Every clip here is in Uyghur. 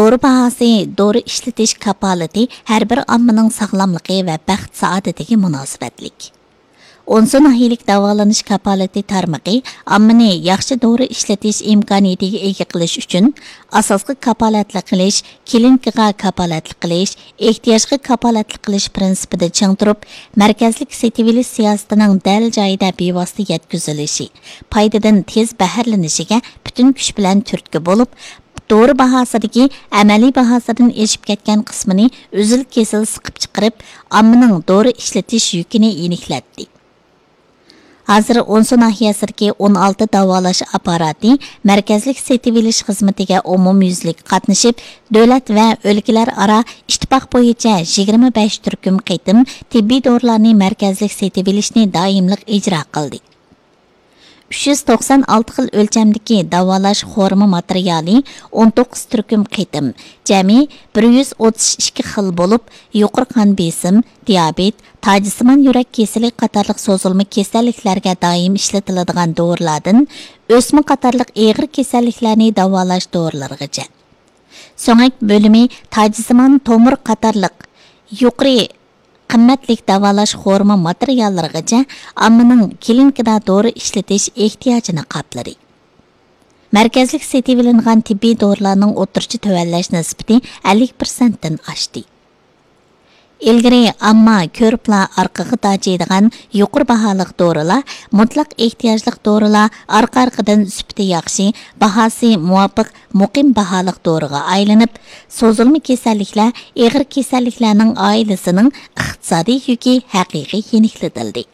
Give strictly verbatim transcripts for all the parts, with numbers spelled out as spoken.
دورا باھاسى، دورا ئىشلىتىش كاپالىتى ھەر بىر ئاممىنىڭ ساغلاملىقى ۋە بەخت-سائادىتىگە مۇناسىۋەتلىك. ئونسۇ ناھىيەلىك داۋالىنىش كاپالىتى تارمىقى ئاممىنى ياخشى دورا ئىشلىتىش ئىمكانىيىتىگە ئىگە قىلىش ئۈچۈن، ئاساسقا كاپالەتلىك قىلىش، كلىنىكىغا كاپالەتلىك قىلىش، ئېھتىياجغا كاپالەتلىك قىلىش پىرىنسىپىدا چىڭ تۇرۇپ، مەركەزلىك سېتىۋېلىش سىياسىتىنىڭ دەل جايىدا بىۋاسىتە يەتكۈزۈلۈشى، پايدىدىن تېز بەھرىلىنىشىگە پۈتۈن كۈچ بىلەن تۈرتكە بولۇپ، دورا باھاسىدىكى ئەمەلىي باھاسىدىن ئېشىپ كەتكەن قىسمىنى ئۈزۈل-كېسىل سىقىپ چىقىرىپ، ئاممىنىڭ دورا ئىشلىتىش يۈكىنى يېنىكلەتتى. ھازىر ئونسۇ ناھىيەسىدىكى ئون ئالتە داۋالاش ئاپپاراتى مەركەزلىك سېتىۋېلىش خىزمىتىگە ئومۇميۈزلۈك قاتنىشىپ، دۆلەت ۋە ئۆلكىلەر ئارا ئىتتىپاق بويىچە يىگىرمە بەش تۈركۈم قېتىم تېببىي دورىلارنى مەركەزلىك سېتىۋېلىشنى دائىملىق ئىجرا قىلدى. ئۈچ يۈز توقسان ئالتە خىل ئۆلچەمدىكى داۋالاش خورما ماتېرىيالى ئون توققۇز تۈركۈم قېتىم، جەمئىي بىر يۈز ئوتتۇز ئىككى خىل بولۇپ، يۇقىرى قان بېسىم، دىيابېت، تاجسىمان يۈرەك كېسىلى قاتارلىق سوزۇلما كېسەللىكلەرگە دائىم ئىشلىتىلىدىغان دورىلاردىن ئۆسمە قاتارلىق ئېغىر كېسەللىكلەرنى داۋالاش دورىلىرىغىچە، سۆڭەك بۆلۈمى، تاجسىمان تومۇر قاتارلىق يۇقىرى قىممەتلىك داۋالاش خورما ماتېرىياللىرىغىچە ئاممىنىڭ كلىنىكىدا دورا ئىشلىتىش ئېھتىياجىنى قاپلىدى. مەركەزلىك سېتىۋېلىنغان تېببىي دورىلارنىڭ ئوتتۇرىچە تۆۋەنلەش نىسبىتى ئەللىك پىرسەنتتىن ئاشتى. ئىلگىرى ئامما كۆرۈپلا ئارقىغا داجىيدىغان يۇقىرى باھالىق دورىلار، مۇتلەق ئېھتىياجلىق دورىلار ئارقا-ئارقىدىن سۈپىتى ياخشى، باھاسى مۇۋاپىق، مۇقىم باھالىق دورىغا ئايلىنىپ، سوزۇلما كېسەللىكلەر، ئېغىر كېسەللىكلەرنىڭ ئائىلىسىنىڭ ئىقتىسادىي يۈكى ھەقىقىي يېنىكلىتىلدى.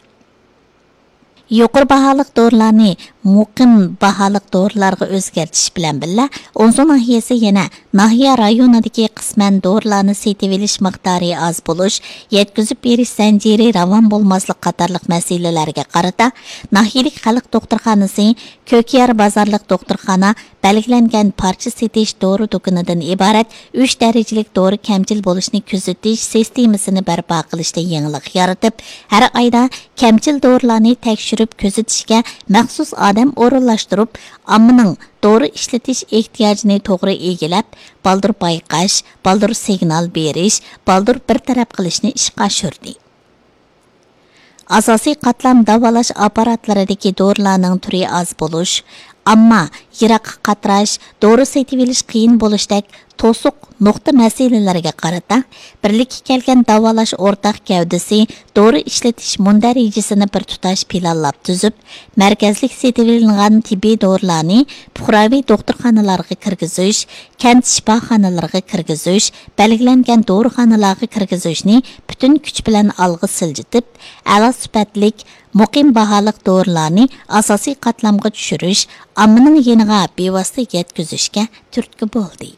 يۇقىرى باھالىق دورىلارنى مۇقىم باھالىق دورىلارغا ئۆزگەرتىش بىلەن بىللە، ئونسۇ ناھىيەسى يەنە ناھىيە رايونىدىكى قىسمەن دورىلارنى سېتىۋېلىش مىقدارى ئاز بولۇش، يەتكۈزۈپ بېرىش زەنجىرى راۋان بولماسلىق قاتارلىق مەسىلىلەرگە قارىتا، ناھىيەلىك خەلق دوختۇرخانىسى، كۆكيار بازارلىق دوختۇرخانا بەلگىلەنگەن پارچە سېتىش دورا دۇكىنىدىن ئىبارەت ئۈچ دەرىجىلىك دورا كەمچىل بولۇشنى كۆزىتىش سىستېمىسىنى بەرپا قىلىشتا يېڭىلىق يارىتىپ، ھەر ئايدا كەمچىل دورىلارنى تەكشۈرۈپ كۆزىتىشكە مەخسۇس ئادەم ئورۇنلاشتۇرۇپ، ئاممىنىڭ دورا ئىشلىتىش ئېھتىياجىنى توغرا ئىگىلەپ، بالدۇر بايقاش، بالدۇر سىگنال بېرىش، بالدۇر بىر تەرەپ قىلىشنى ئىشقا ئاشۇردى. ئاساسىي قاتلام داۋالاش ئاپپاراتلىرىدىكى دورىلارنىڭ تۈرى ئاز بولۇش، ئامما يىراققا قاتراش، دورا سېتىۋېلىش قىيىن بولۇشتەك توسۇق نۇقتا مەسىلىلىرىگە قارىتا، بىرلىككە كەلگەن داۋالاش ئورتاق گەۋدىسى دورا ئىشلىتىش مۇندەرىجىسىنى بىر تۇتاش پىلانلاپ تۈزۈپ، مەركەزلىك سېتىۋېلىنغان تېببىي دورىلارنى پۇقراۋى دوختۇرخانىلارغا كىرگۈزۈش، كەنت شىپاخانىلىرىغا كىرگۈزۈش، بەلگىلەنگەن دورىخانىلارغا كىرگۈزۈشنى پۈتۈن كۈچ بىلەن ئالغا سىلجىتىپ، ئەلا سۈپەتلىك، مۇقىم باھالىق دورىلارنى ئاساسىي قاتلامغا چۈشۈرۈش، ئاممىنىڭ يېنىغا بىۋاسىتە يەتكۈزۈشكە تۈرتكە بولدى.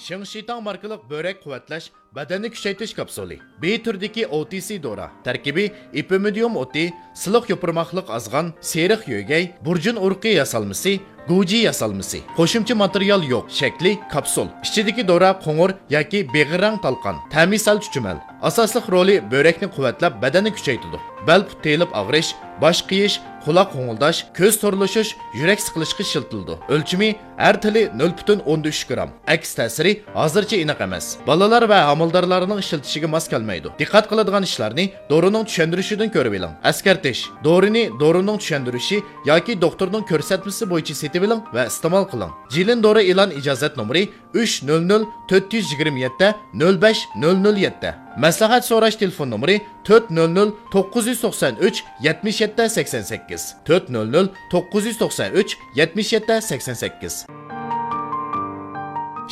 شىڭشىتاڭ ماركىلىق بۆرەك قۇۋۋەتلەش، بەدەننى كۈچەيتىش كاپسۇلى. بى تۈرىدىكى ئو تى سى دورا. تەركىبى ئېپىمىدىيۇم ئوتى، سىلىق يوپۇرماقلىق ئازغان، سېرىق يۆگەي، بۇرجۇن ئۇرۇقى ياسالمىسى، گۇجى ياسالمىسى. قوشۇمچە ماتېرىيال يوق. شەكلى كاپسۇل. ئىچىدىكى دورا قوڭۇر ياكى بېغىر رەڭ تالقان. تەمى سەل چۈچۈمەل. ئاساسلىق رولى بۆرەكنى قۇۋۋەتلەپ، بەدەننى كۈچەيتىدۇ. بەل پۇت تېيىلىپ ئاغرىش، باش قېيىش، قۇلاق غوڭۇلداش، كۆز تورلىشىش، يۈرەك سىقىلىشقا ئىشلىتىلىدۇ. ئۆلچىمى ئەر تىلى نۆل پۈتۈن ئوندىن ئۈچ گرام. ئەكس تەسىرى ھازىرچە ئېنىق ئەمەس. بالىلار ۋە ھامىلىدارلارنىڭ ئىشلىتىشىگە ماس كەلمەيدۇ. دىققەت قىلىدىغان ئىشلارنى دورىنىڭ چۈشەندۈرۈشىدىن كۆرۈۋېلىڭ. ئەسكەرتىش: دورىنى دورىنىڭ چۈشەندۈرۈشى ياكى دوختۇرنىڭ كۆرسەتمىسى بويىچە سېتىۋېلىڭ ۋە ئىستېمال قىلىڭ. جىلىن دورا ئېلان ئىجازەت نومۇرى ئۈچ نۆل نۆل تۆت يۈز يىگىرمە يەتتە نۆل بەش نۆل نۆل يەتتە. مەسلىھەت سوراش تېلېفون نومۇرى تۆت نۆل نۆل توققۇز يۈز توقسان ئۈچ يەتمىش يەتتە سەكسەن سەككىز، تۆت نۆل نۆل توققۇز يۈز توقسان ئۈچ يەتمىش يەتتە سەكسەن سەككىز.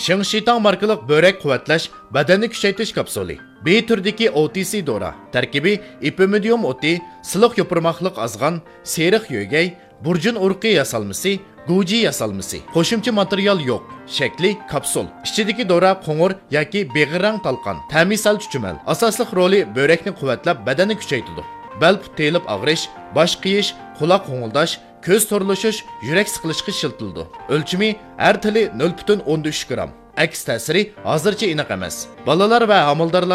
شىڭشىتاڭ ماركىلىق بۆرەك قۇۋۋەتلەش، بەدەننى كۈچەيتىش كاپسۇلى. بى تۈرىدىكى ئو تى سى دورا. تەركىبى ئېپىمىدىيۇم ئوتى، سىلىق يوپۇرماقلىق ئازغان، سېرىق يۆگەي، بۇرجۇن ئۇرۇقى ياسالمىسى، گۇجى ياسالمىسى. قوشۇمچە ماتېرىيال يوق. شەكلى كاپسۇل. ئىچىدىكى دورا قوڭۇر ياكى بېغىر رەڭ تالقان. تەمى سەل چۈچۈمەل. ئاساسلىق رولى بۆرەكنى قۇۋۋەتلەپ، بەدەننى كۈچەيتىدۇ. بەل پۇت تېيىلىپ ئاغرىش، باش قېيىش، قۇلاق غوڭۇلداش، كۆز تورلىشىش، يۈرەك سىقىلىشقا ئىشلىتىلىدۇ. ئۆلچىمى ئەر تىلى نۆل پۈتۈن ئوندىن ئۈچ گرام. ئەكس تەسىرى ھازىرچە ئېنىق ئەمەس. بالىلار ۋە ھامىلىدارلار